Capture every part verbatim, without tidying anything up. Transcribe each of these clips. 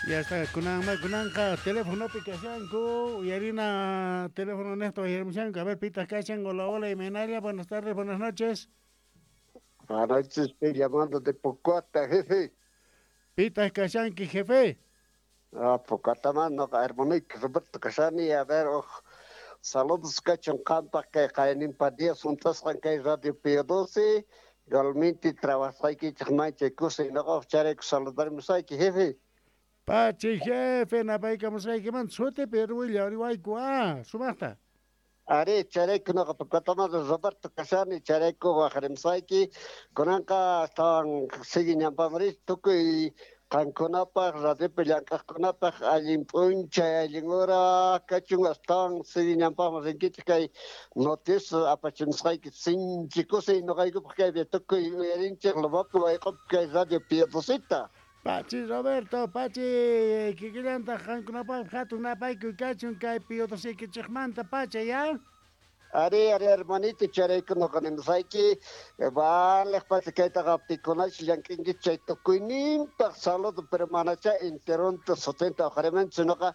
Ya está, kunan kunanqa telefonopi kashanku, uyarina teléfono nesto uyarimushanku. A ver, pitaq kashan, hola, hola, imaynalla, buenas tardes, buenas noches. Buenas noches, estoy llamando de Pocota, jefe. Pitaq kashanki, jefe. Ah, Pocota, mano, hermanito Roberto Casani, a ver, oh, saludos kachun qampaq kay qayninpa días juntasqan kay Radio Pío doce, igualmente trabajaykichik manchay kusiy noqaq charayku saludarmusayki, jefe. Pachi, jefe, napaykamusqaykimanta sutipi willariwayku, ah, sumaqta. Ari, charayku noqa Pocotamanta Roberto Casani, charayku waqarimusayki, kunanqa astawan sigue ñanpamari tukuy qankunapaq radiopi llank'aqkunapaq allin p'unchay allin hora kachun astawan sigue ñanpaqman rinkichik kay noticias apachimusqayki sinchi kusiy noqaykupaq kaypi tukuy uyarinchik Lomapi wayq'upi kay Radio Pío Doceta. Pachi Roberto, Pachi, kikillantaq qankunapaq hatun napaykuy kachun kay Pío Doceykichikmanta pacha, ya? Ari, ari, hermanito, charayku noqa nimusayki, vale, pacha kaytaqa pikunash llank'inki chay tukuyninpaq saludo, pero manacha enteronta sutinta uqarimanchu noqa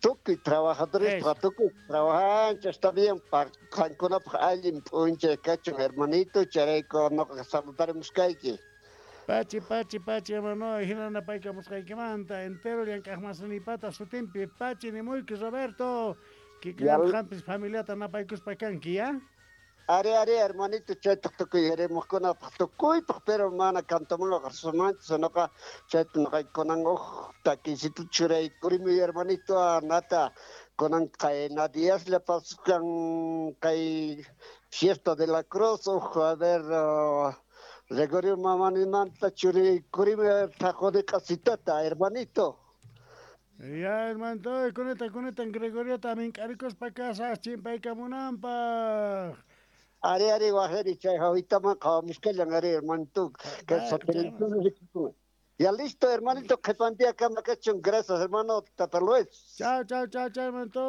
tukuy trabajadores, tukuy trabajancha, está bien, qankunapaq allin p'unchay kachun, hermanito, charayku noqa saludarimuskayki. Pachi, pachi, pachi, hermano, hina napaykamusqaykimanta, entero llank'aqmasinipata sutinpi, pachi nimuyki, Roberto, kikillan qampis familiata napaykuspa kanki, ya? Ari, ari, hermanito, chaytaq tukuy yarimuqkunapaq tukuypaq, pero mana cantamunqa sumanchu, sinoqa chayta noqaykunan uj takisito churaykurimuy, hermanito, nata, kunan qayna diaslla paskan kay fiesta de la cruz, uj, a ver, uh, Gregorio mamanimanta churikurimi taquni qasitata, hermanito. Ya, hermanito, kuneta, kuneta, Gregorio también k'arikuspa kasas chimpaykamunanpaq. Ari, ari, wajeri, chay hawitaman qhawamusqallan, ari, hermanito, que Ya listo, hermanito, qhipantia kama kachun, gracias, hermano, Tata Luis. Chao, chao, chao, chao, hermanito.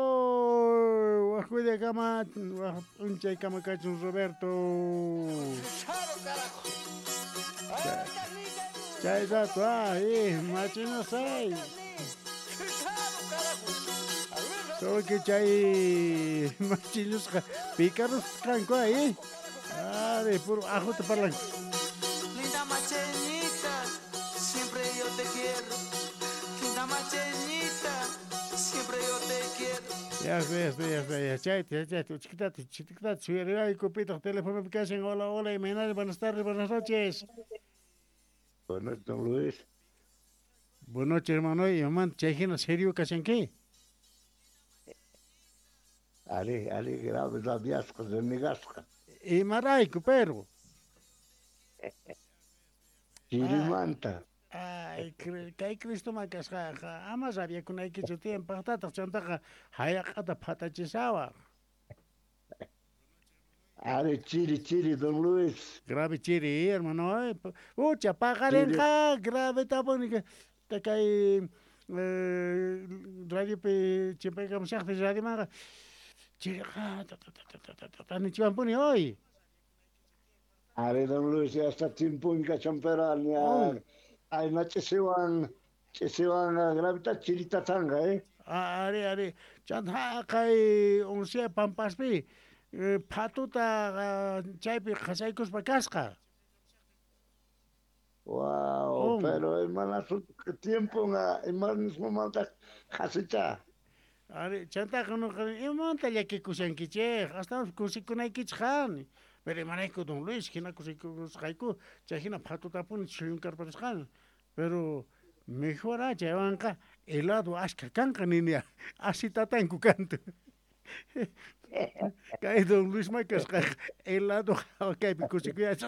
Wajcuida kama, waj kama kachun, Roberto. Chay rato, ah, machino say. Solo que chay machilusqa pícaros kanku ahí. Ah, de puro ajo te parlan. Linda macheñita, siempre yo te quiero. Linda macheñita, siempre yo te quiero. Ya está, ya está, ya está, ya. Chay, chay, chay, chiquitata, chiquitata, suyarayku, pitaq teléfono kashan. Hola, hola, imaynalla, buenas tardes, buenas noches. Buenas noches, don Luis. Buenas noches, hermano. Y mamá, chay hina serio kashanki. Ari, ari, grave rabiasqa, renegasqa. Imarayku, pero. Chirimanta. Ay, kay Cristo makasqaqa, ama rabiakunaykichu tiyan paqtataq chantaqa hayaq'ata phatachisawaq. Ari, chiri, chiri, don Luis. Grave chiri, hermano. Ucha, paqarinqa, grave tapuni. Kay radiopi chimpaykamushaqti radiomanqa chiriqa, ta ta ta ta ta ta nichiwanpuni hoy. Ari, don Luis, ya está chimpun kachan, pero ay, no chisiwan, chisiwan gravita chirita tanga, eh. Ari, ari, chanta kay uncia pampaspi, phatuta chaypi qhasaykuspa kasqa. Wow, pero hermana, tiempo nga, hermana, mamanta qhasicha. Ari, chantaqa nuqa imamanta llakikushankichik, hasta kusikunaykichik qan. Pero imarayku don Luis, hina kusikusqayku, chay hina phatutapuni chuyunkarparisqan. Pero mejor chaywanqa helado ashka kanqa ninia, asi tatanku kantu. Kay don Luis makasqa helado kaypi kusikuyachasqa.